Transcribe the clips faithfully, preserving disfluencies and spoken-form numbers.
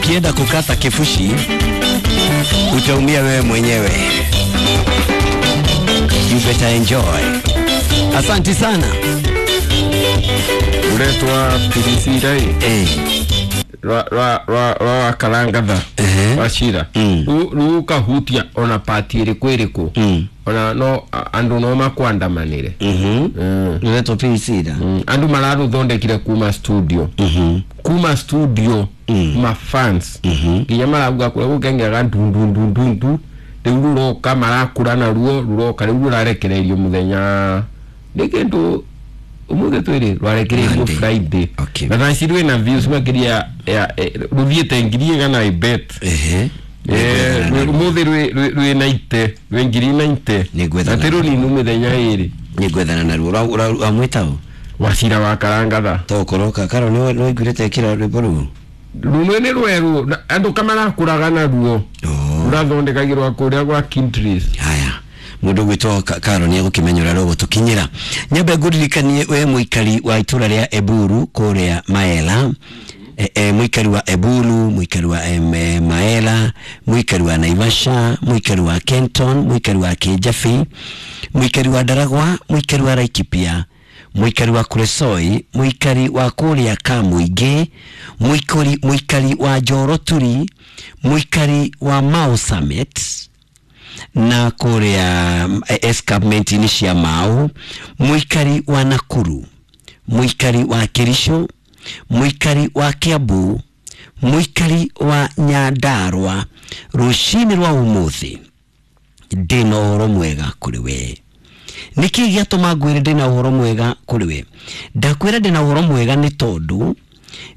Ukienda kukata kifushi utaumia wewe mwenyewe. You better enjoy. Asante sana. Uretwa P D C rai Eh. rwa rwa rwa rwa Karangatha Ehe. wa Cira. Mm. Rukahutia ona pati ĩrĩkũ ĩrĩkũ Mm. ona no a- andũ no makwandamanĩre. Mhm. Mm. Uretwa P C da. Mm. Andũ mararũthondekire kuma studio, Mhm. kuma studio, Mm. mafans Mhm. nginya marauga kũrĩa gũkengeraga ndundundundundu rĩu ruroka marakũra naruo ruroka rĩu rũrarekereirio mũthenya nĩ kĩndũ ũmũthĩ twĩrĩ rwarekereirio Monday. Friday. Okay. Na thaa ici rwĩna views makĩria ya eh, rũthiĩte ngiri igana i bet. Ehe. Eh, ũmũthĩ rwĩ- rwĩ rwĩ naite rwĩ ngiri naite Nĩngwethana. na ti rũninu mĩthenya ĩrĩ. Nĩngwethana naruo. Ũramwĩta ũ? Wacira wa Karangatha. Tokoroka karo nĩ nĩwaiguĩte kĩra rwĩmbo rũu? Rũmwe nĩ rwerũ na andũ kamarakũraga naruo. Oh. Rũrathondekagĩrwo kũrĩa gwa Kintris. Haya, mundu gwitwo Karo nĩ egũkĩmenya ũrĩa rũgũtũkinyĩra. Nyambe ngũririkanie we mũikari wa itũra rĩa Eburu kũrĩa Maela, e, e, mũikari wa Eburu, mũikari wa em, e, Maela, mũikari wa Naivasha, mũikari wa Kenton, mũikari wa Kĩnjabi, mũikari wa Ndaragwa, mũikari wa Laikipia, mũikari wa Kuresoi, mũikari wa kũrĩa Kamũingĩ, mũikari, mũikari wa Njoroturi, mũikari wa Mau Summit na kũrĩa escarpment-inĩ cia Mau, mũikari wa Nakuru, mũikari wa Kericho, mũikari wa Kiambu, mũikari wa Nyandarua, rũcinĩ rwa ũmũthĩ ndĩna ũhoro mwega kũrĩ we. Nĩkĩ gĩatũma ngwĩre ndĩna ũhoro mwega kũrĩ we? Ndakwĩra ndĩna ũhoro mwega nĩ tondũ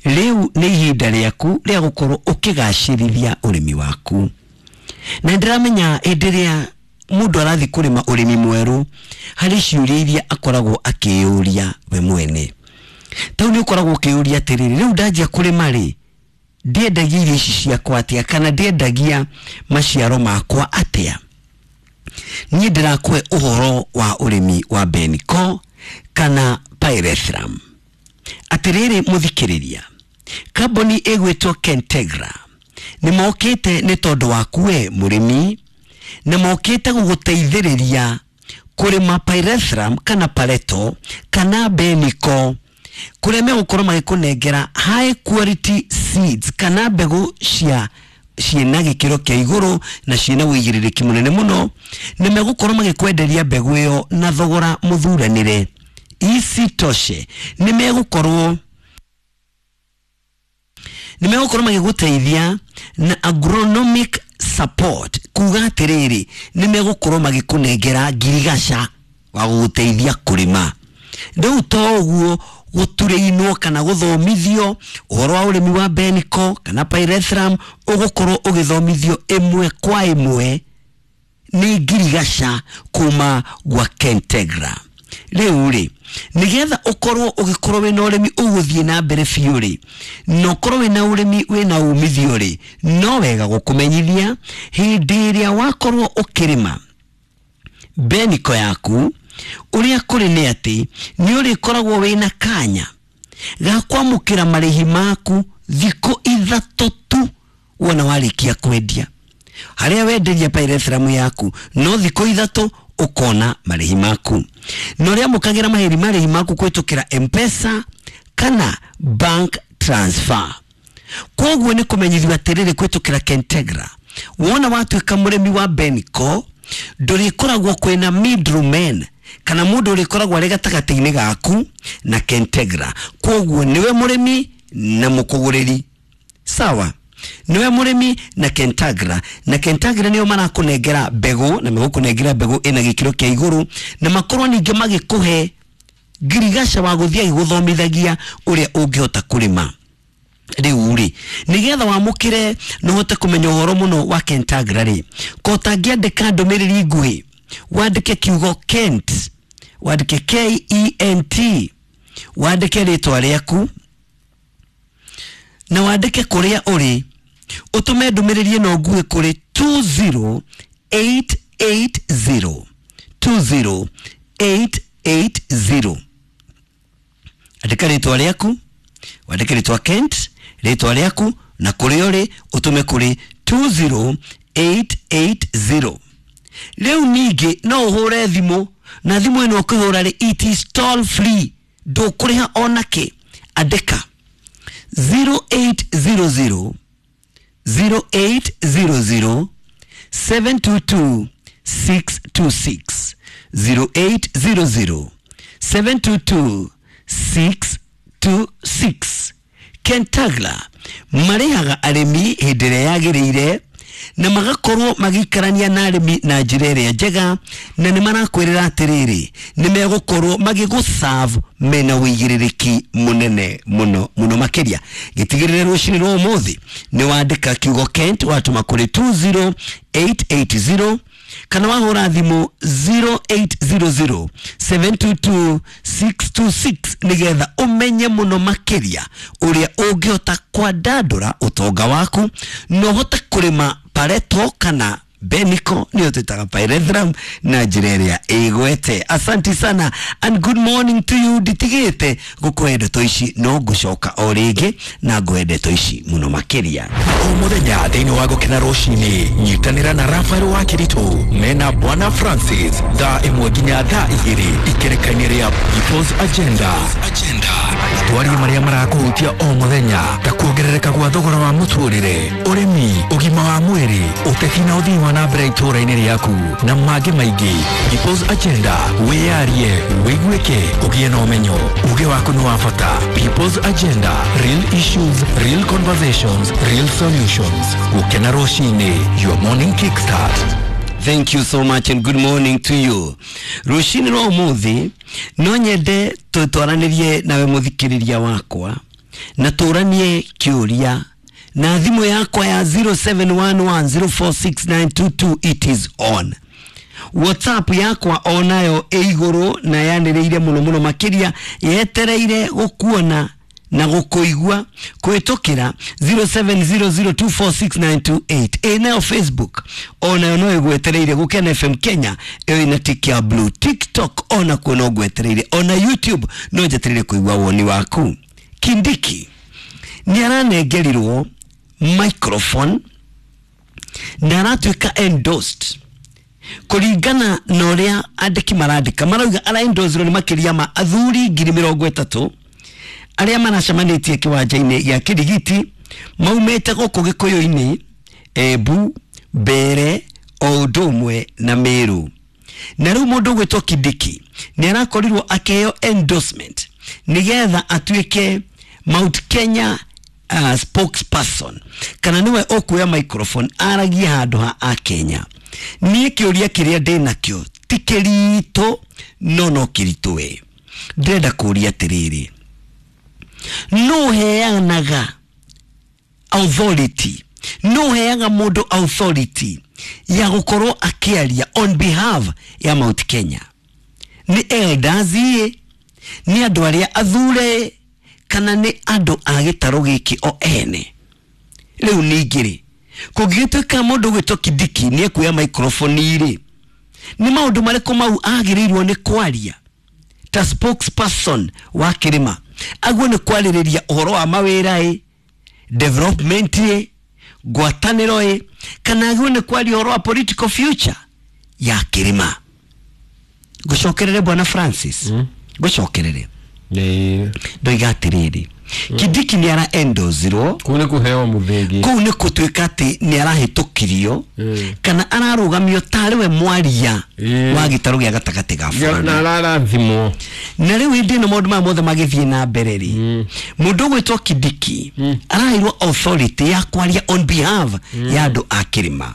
rĩu nĩ ihinda rĩaku rĩa gũkorwo ũkĩgacĩrithia ũrĩmi waku, na ndĩramenya hĩndĩ ĩrĩa mũndũ arathiĩ kũrĩma ũrĩmi mwerũ harĩ ciũria iria akoragwo akĩyũria we mwene. Tau nĩ ũkoragwo ũkĩyũria atĩrĩrĩ, rĩu ndanjia kũrĩma rĩ, ndiendagia irio ici ciakwa atĩa kana ndiendagia maciaro makwa atĩa? Niĩ ndĩrakũhe ũhoro wa ũrĩmi wa Beniko kana Pyrethrum. Atĩrĩrĩ mũthikĩrĩria, kambuni ĩgwĩtwo Kentegra nĩ mokĩte nĩ tondũ waku we mũrĩmi, na mokĩte gũgũteithĩrĩria kũrĩma Pyrethrum kana Pareto kana Beniko, kũrĩa megũkorwo magĩkũnengera high quality seeds kana mbegũ cia ciĩna gĩkĩro kĩa igũrũ na ciĩna wĩigĩrĩrĩki mũnene mũno, nĩ megũkorwo magĩkwenderia mbegũ ĩyo na thogora mũthuranĩre. Isitoshe, nĩ megũkorwo nĩ megũkorwo magĩgũteithia na agronomic support, kuga atĩrĩrĩ, nĩ megũkorwo magĩkũnengera ngirigaca wa gũgũteithia kũrĩma. Rĩu to ũguo, gũturĩinwo kana gũthomithio ũhoro wa ũrĩmi wa Beniko kana Pyrethrum ũgũkorwo ũgĩthomithio ĩmwe kwa ĩmwe nĩ ngirigaca kuma gwa Kentegra. Rĩu rĩ, nĩgetha ũkorwo ũgĩkorwo wĩna ũrĩmi ũgũthiĩ na mbere biũ rĩ, na ũkorwo wĩna ũrĩmi wĩna umithio rĩ, no wega gũkũmenyithia hĩndĩ ĩrĩa wakorwo ũkĩrĩma Beniko yaku, ũrĩa kũrĩ nĩ atĩ nĩ ũrĩkoragwo wĩna kanya ga kwamũkĩra marĩhi maku thikũ ithatũ tu wona warĩkia kwendia. Harĩa wenderia Pyrethrum yaku, no thikũ ithatũ ũkona marĩhi maku, na ũrĩa amũkagĩra mahĩri marĩhi maku kũhĩtũkĩra M-Pesa kana bank transfer. Koguo nĩ kũmenyithio atĩrĩrĩ, kũhĩtũkĩra Kentegra, wona watuĩka mũrĩmi wa Beniko, ndũrĩkoragwo kwĩna middleman kana mũndũ ũrĩkoragwo arĩ gatagatĩ-inĩ gaku na Kentegra. Koguo nĩwe mũrĩmi na mũkũgũrĩri, sawa, niwe mũrĩmi na Kentagra, na Kentagra nĩo marakũnengera mbegũ, na megũkũnengera mbegũ ĩna gĩkĩro kĩa igũrũ, na makorwo ningĩ magĩkũhe ngirigaca wa gũthiĩ agĩgũthomithagia ũrĩa ũngĩhota kũrĩma. Rĩu rĩ, nĩgetha wamũkĩre na ũhote kũmenya ũhoro mũno wa Kentagra rĩ, ko ũtangĩandĩka ndũmĩrĩri nguhĩ, wandĩke kiugo Kent, wandĩke K E N T, wandĩke rĩtwa rĩaku na wandĩke kũrĩa ũrĩ, ũtũme ndũmĩrĩri ĩno nguhĩ kũrĩ two zero eight eight zero, two zero eight eight zero. Andĩka rĩtwa rĩaku, wandĩke rĩtwa Kent, rĩtwa rĩaku na kũrĩa ũrĩ ũtũme kũrĩ two zero eight eight zero. Rĩu ningĩ no ũhũre thimũ, na thimũ ĩno ũkĩhũra rĩ, it is toll free, ndũkũrĩha ona kĩ. Andĩka zero eight zero zero zero eight zero zero seven two two six two six, zero eight zero zero seven two two six two six. Kentagla marĩhaga arĩmi hĩndĩ ĩrĩa yagĩrĩire na magakorwo magĩikarania na arĩmi na njĩra ĩrĩa njega, na nĩ marakwĩrĩra atĩrĩrĩ nĩ megũkorwo magĩgũserve mena ũigĩrĩrĩki mũnene mũno mũno makĩria. Gĩtigĩrĩre rũcinĩ rwa ũmũthĩ nĩ wandĩka kiugo Kent watũma kũrĩ two zero eight eight zero kana wahũra thimũ zero eight zero zero seven two two six two six nĩgetha ũmenye mũno makĩria ũrĩa ũngĩhota kwandandũra ũtonga waku na ũhote kũrĩma Pareto kana Beniko, nĩyo twĩtaga pyrethrum na njĩra ĩrĩa ĩgwete. Asante sana and good morning to you. Nditigĩte gũkũhe ndeto ici, no ngũcoka o rĩngĩ na ngũhe ndeto ici mũno makĩria. O mũthenya thĩinĩ wa Gũkena Rũcinĩ, nyitanĩra na Rafael wa Kĩritũ mena Bwana Francis thaa ĩmwe nginya thaa igĩrĩ ikereka-inĩ rĩa People's Agenda. Twarie marĩa marakũhutia o mũthenya ta kuongerereka gwa thogora wa mũtũrĩre, ũrĩmi, ũgima wa mwĩrĩ, ũteti na ũthii wa na mbere itũũra-inĩ rĩaku na mangĩ maingĩ. People's Agenda, wĩyarie, wĩiguĩke, ũgĩe na ũmenyo, uge waku nĩ wa bata. People's Agenda, real issues, real conversations, real solutions. Gũkena Rũcinĩ, your morning kickstart. Thank you so much and good morning to you. Rũcinĩ rwa ũmũthĩ no nyende tũtwaranĩrie nawe mũthikĩrĩria wakwa na tũranie kĩũria na thimũ yakwa ya zero seven one one zero four six nine two two, it is on. WhatsApp yakwa onayo ĩ igũrũ na yanĩrĩire mũno mũno makĩria, yetereire gũkuona na gũkũigua kũhĩtũkĩra zero seven zero zero two four six nine two eight. Ĩ nayo Facebook onayo no ĩgwetereire, Gũkena F M Kenya ĩyo ĩna tick ya blue. TikTok onakuo no ngwetereire, ona YouTube no njetereire kũigua woni waku. Kindiki nĩ aranengerirwo microphone na aratuĩka endorsed kũringana na ũrĩa andĩki marandĩka, marauga ara endorsirwo nĩ makĩria ma athuri ngiri mĩrongo ĩtatũ arĩa maracemanĩtie kĩwanja-inĩ gĩa Kĩrigiti, maumĩte gũkũ Gĩkũyũ-inĩ, Embu, Mbeere o ũndũ ũmwe na Meru. Na rĩu mũndũ ũgwĩtwo Kindiki nĩ arakorirwo akĩheo endorsement nĩgetha atuĩke Mount Kenya uh, spokesperson, kana nĩwe ũkuoya microphone aragie handũ ha Akenya. Niĩ kĩũria kĩrĩa ndĩ nakĩo ti kĩritũ no no kĩritũ we. Ndĩrenda kũũria atĩrĩrĩ, no heanaga authority, no heaga mũndũ authority ya gũkorwo akĩaria on behalf ya Mount Kenya? Nĩ elders ĩ, nĩ andũ arĩa athure, kana nĩ andũ a gĩtarũ gĩkĩ o ene? Rĩu ningĩ rĩ, kũngĩgĩtuĩka mũndũ ũgwĩtwo Kindiki nĩ ekuoya microphone rĩ, nĩ maũndũ marĩkũ mau agĩrĩirwo nĩ kwaria ta spokesperson wa kĩrĩma? Aguo nĩ kwarĩrĩria ũhoro wa mawĩra ĩ, development ĩ, ngwatanĩro ĩ, kana aguo nĩ kwaria ũhoro wa political future ya kĩrĩma? Ngũcokerere Bwana Francis, ngũcokerere. Ndoiga atĩrĩrĩ, Kindiki nĩ ara endorse-irwo kũu nĩ kũheo mũthĩgi, kũu nĩ gũtuĩka atĩ nĩ arahĩtũkirio kana ararũgamio tarĩ we mwaria wa gĩtarũ gĩa gatagatĩ ga bũrũri, na ararathimwo. Na rĩu hĩndĩ ĩno maũndũ maya mothe magĩthiĩ na mbere rĩ, mũndũ ũgwĩtwo Kindiki araheirwo authority ya kwaria on behalf ya andũ a kĩrĩma,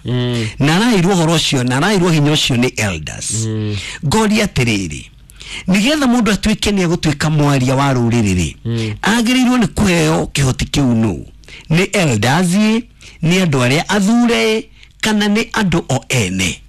na araheirwo ũhoro ũcio na araheirwo hinya ũcio nĩ elders. Ngoria atĩrĩrĩ, nĩgetha mũndũ atuĩke nĩ egũtuĩka mwaria wa rũrĩrĩ rĩ, agĩrĩirwo nĩ kũheo kĩhoti kĩu nũ? Nĩ elders ĩ, nĩ andũ arĩa athure, kana nĩ andũ o ene?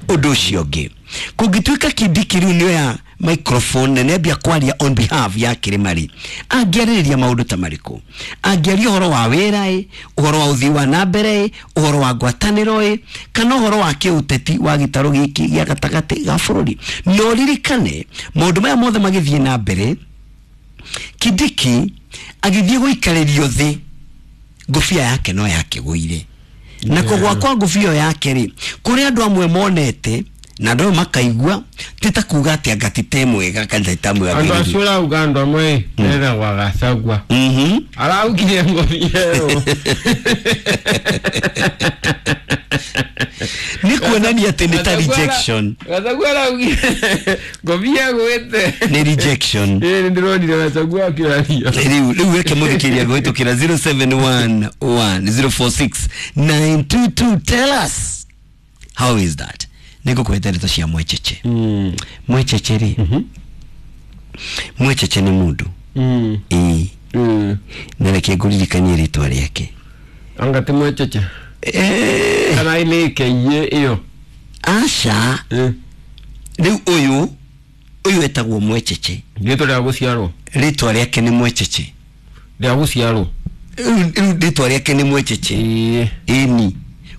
Ũndũ ũcio ũngĩ, kũngĩtuĩka Kindiki rĩu nĩoya microphone na nĩambia kwaria on behalf ya kĩrĩma rĩ, angĩarĩrĩria maũndũ ta marĩkũ? Angĩaria ũhoro wa wĩra ĩ, ũhoro wa ũthii wa na mbere ĩ, ũhoro wa ngwatanĩro ĩ, kana ũhoro wa kĩũteti wa gĩtarũ gĩkĩ gĩa gatagatĩ ga bũrũri? Na ũririkane maũndũ maya mothe magĩthiĩ na mbere, Kindiki agĩthiĩ gũikarĩrio thĩ Ngũbia yake no yakĩgũire. Na kũgwa kwa ngũbia yake rĩ, kũrĩ andũ amwe monete na andũ makaigua ti ta kuga atĩ anga ti te mwega kana ti ta mwega. Andũ acio ũrauga andũ amwe metagwo Gachagua. Mhm. Araugire ngũbia ĩyo. Nĩ kuonania atĩ nĩ ta rejection. Gachagua araugire ngũbia ĩgwĩte. Nĩ rejection. Ĩĩ nĩ ndĩronire Gachagua akĩaria. Rĩu rĩu weke mũthikĩria kũhĩtũkĩra zero seven one one zero four six nine two two. Tell us how is that. Nĩngũkũhete ndeto cia Mwecheche. Mm. Mwecheche rĩ, Mwecheche nĩ mũndũ. Mm. Ĩĩ. Mm. Na reke ngũririkanie rĩtwa rĩake. Anga ti Mwecheche. Eh. Kana nĩ keiye ĩyo. Aca. Eh. Rĩu ũyũ ũyũ etagwo Mwecheche. Rĩtwa rĩa gũciarwo. Rĩtwa rĩake nĩ Mwecheche. Rĩa gũciarwo. Rĩu rĩu rĩtwa rĩake nĩ Mwecheche. Ĩĩ. Ĩni.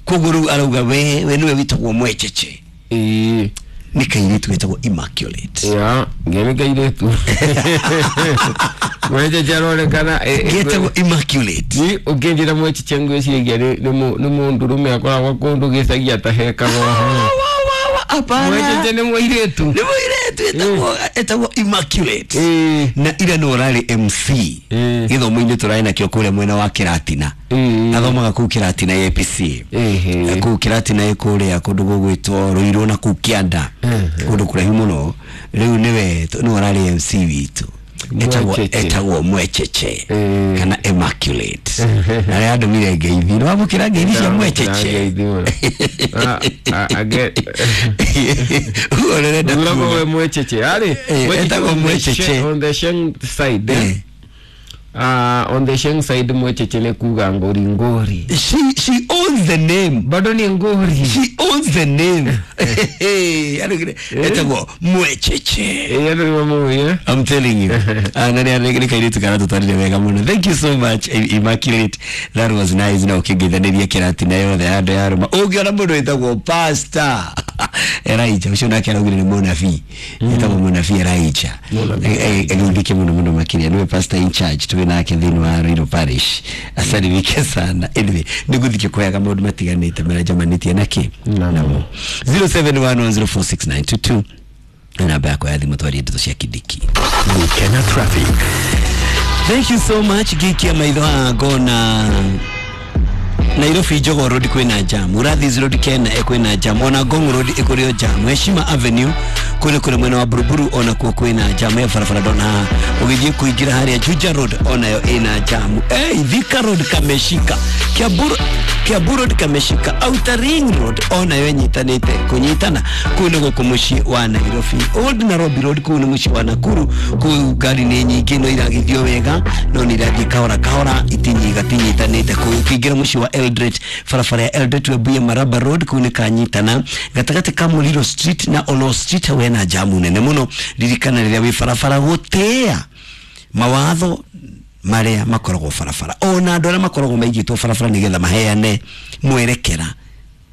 Koguo rĩu arauga we we nĩwe wĩtagwo Mwecheche. Ĩĩ. Nĩ kairĩtu getagwo Immaculate. Ya, ngemi kairĩtu. Mwecheche aronekana Getagwo Immaculate. Ni ũngĩnjĩra Mwecheche ngwĩciria nĩ nĩ mũndũrũme akoragwo kũndũ gĩcagi atahekaga ũhoro. Hapana. Mwecheche nĩ mũirĩtu. Nĩ mũirĩtu etagwo etagwo Immaculate. Ĩĩ. Na ira no ũrarĩ M C. Ĩĩ. Gĩthomo-inĩ tũrarĩ nakĩo kũrĩa mwena wa Kĩratina. Ĩĩ. Athomaga kũu Kĩratina A P C. Ĩhĩ. Kũu Kĩratina ĩ kũrĩa kũndũ gũgwĩtwo Ruiru na kũu Kĩanda. Kũndũ kũraihu mũno. Rĩu nĩwe nĩwe ũrarĩ M C witũ. Etagwo Mwecheche. etagwo Mwecheche Ĩĩ. kana Immaculate. Na rĩa andũmire ngeithi. Nĩ wamũkĩra ngeithi cia Mwecheche. Ngeithi mũno. Ah, ah, age- Ũguo ũrenda Ũragwo kuga. we Mwecheche. Arĩ, Eh, Mwecheche etagwo on the Mwecheche. Sheng- on the Sheng side, eh? Eh. Ah, on the Sheng side Mwecheche nĩ kuga ngori ngori. She she owns the name. Bado ni ngori. She owns the name. Arugire etagwo Mwecheche. Ĩĩ andũ nĩ mamũĩ, eh? I'm telling you. Ah, na nĩ nĩ kairĩtu karatũtwarire wega mũno. Thank you so much Immaculate. That was nice. Na ũkĩngeithanĩria Kĩratina yothe ya andũ ya Rũma. Ũngĩona mũndũ wĩtagwo Pastor Elijah, ũcio nake araugire nĩ mũnabii. Etagwo mũnabii Elijah. Agĩthike mũno mũno makĩria. Nĩwe pastor in charge twĩ nake thĩinĩ wa Ruiru Parish. Asalimike sana. Anyway, nĩngũthiĩ kũheaga maũndũ matiganĩte marĩa njamanĩtie nakĩ namo. zero seven one one zero four six nine two two namba yakwa ya thimũ twarie ndeto cia Kindiki. Gukena traffic. Thank you so much Gikia maitho haha ngona Nairobi Jogoo Road kwĩna jam, Urathis Road Kena kwĩna jam, ona Ngong Road ĩkũrĩ o jam, Heshima Avenue kũrĩ kũrĩ mwena wa Buruburu ona kuo kwĩna jam ya barabara ndona haha ũgĩthiĩ kũingĩra harĩa Juja Road onayo ĩna jam. Hey, Thika Road kameshika, Kiambu Kiambu Road kameshika, Outer Ring Road onayo ĩnyitanĩte kũnyitana kũu nĩ gũkũ mũciĩ wa Nairobi. Old Nairobi Road kũu nĩ mũciĩ wa Nakuru, kũu ngari nĩ nyingĩ no iragithio wega no nĩ irathiĩ kahora kahora itinyiga tinyitanĩte kũu. Ũkĩingĩra mũciĩ wa Eldoret, barabara ya Eldoret Webuye Maraba Road kũu nĩ kanyitana gatagatĩ ka Muliro Street na Olo Street hau hena jamu nene mũno. Ririkana rĩrĩa wĩ barabara gũtĩĩa mawatho marĩa makoragwo barabara ona andũ arĩa makoragwo maigĩtwo barabara nĩgetha maheane mwerekera,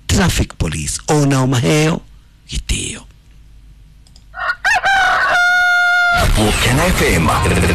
traffic police onao maheo gĩtĩo. Gukena F M.